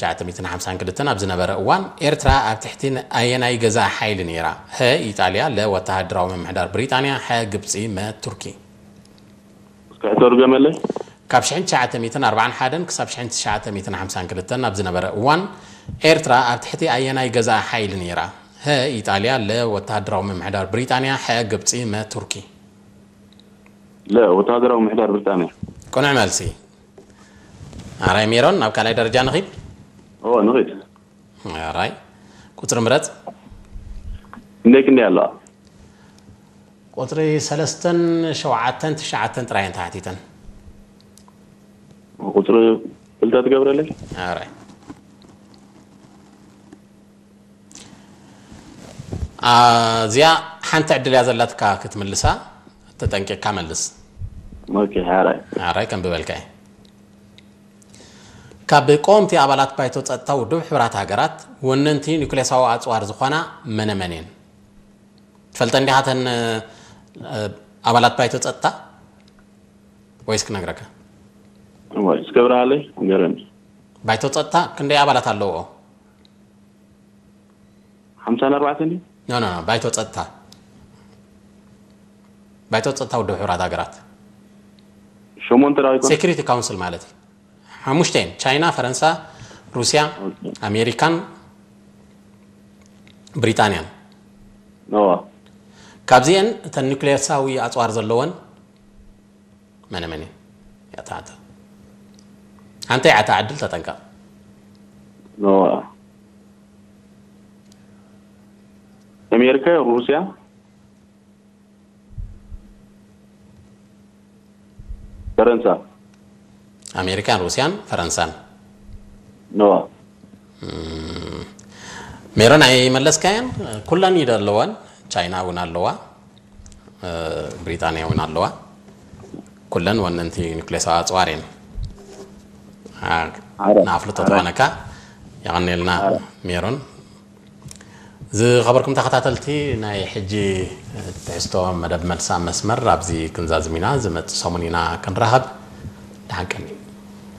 ትሽዓተ ሚእትን ሓምሳን ክልተን ኣብ ዝነበረ እዋን ኤርትራ ኣብ ትሕቲ ኣየናይ ገዛኢ ሓይሊ ነይራ? ሀ ኢጣልያ፣ ለ ወተሃደራዊ ምምሕዳር ብሪጣንያ፣ ሐ ግብጺ፣ መ ቱርኪ። እስከ ሕቶ ድገመለይ። ካብ ሽሕን ትሽዓተ ሚእትን ኣርባዓን ሓደን ክሳብ ሽሕን ትሽዓተ ሚእትን ሓምሳን ክልተን ኣብ ዝነበረ እዋን ኤርትራ ኣብ ትሕቲ ኣየናይ ገዛኢ ሓይሊ ነይራ? ሀ ኢጣልያ፣ ለ ወተሃደራዊ ምምሕዳር ብሪጣንያ፣ ሐ ግብጺ፣ መ ቱርኪ። ለ ወተሃደራዊ ምምሕዳር ብሪጣንያ። ቅኑዕ መልሲ። ኣራይ ሜሮን፣ ናብ ካልኣይ ደረጃ ንኺድ። ኦ ንኺድ። ኣራይ ቁፅሪ ምረፅ። እንዴት እንዴ ኣለዋ? ቁፅሪ ሰለስተን ሸውዓተን ትሽዓተን ጥራይ እየን ተሓቲተን። ቁፅሪ ክልተ ትገብረለይ? ኣራይ ኣዚኣ ሓንቲ ዕድል እያ ዘላትካ ክትምልሳ፣ ተጠንቂቕካ መልስ። ኦኬ ሓራይ። ኣራይ ከም ብበልካ እየ። ካብ ቀወምቲ ኣባላት ባይቶ ጸጥታ ውድብ ሕቡራት ሃገራት ወነንቲ ኒኩሌሳዊ ኣጽዋር ዝኾና መነመን እየን? ትፈልጠን ዲኻ እተን ኣባላት ባይቶ ጸጥታ ወይስ ክነግረካ? እዋይ እስከብረሃለይ ንገረኒ። ባይቶ ጸጥታ ክንደይ ኣባላት ኣለዎ? ሓምሳን ኣርባዕተን እዩ። ኖ ኖ ባይቶ ጸጥታ፣ ባይቶ ጸጥታ ውድብ ሕቡራት ሃገራት። ሸሞንተ ራዊኮ። ሴኩሪቲ ካውንስል ማለት እዩ። ሓሙሽተ እየን፣ ቻይና፣ ፈረንሳ፣ ሩስያ፣ ኣሜሪካን ብሪጣንያን። ነዋ። ካብዚአን እተን ኒኩሌሳዊ ኣፅዋር ዘለወን መነ መን እየን? ያታዕተ ሓንተ ያታ ዕድል ተጠንቀቕ። ነዋ። ኣሜሪካ፣ ሩስያ፣ ፈረንሳ። ኣሜሪካን ሩስያን ፈረንሳን። ነዋ። ሜሮን ኣይመለስካያን። ኩለን ኢደ ኣለወን። ቻይና እውን ኣለዋ፣ ብሪጣንያ እውን ኣለዋ። ኩለን ወነንቲ ኒኩሌሳዊ ኣፅዋር እየን። ንኣፍልጦ ትኾነካ። የቐኔልና ሜሮን። ዝኸበርኩም ተኸታተልቲ ናይ ሕጂ ትሕዝቶ መደብ መልሲ ኣብ መስመር ኣብዚ ክንዛዝም ኢና። ዝመጽእ ሰሙን ኢና ክንራኸብ። ደሓን ቀኒ።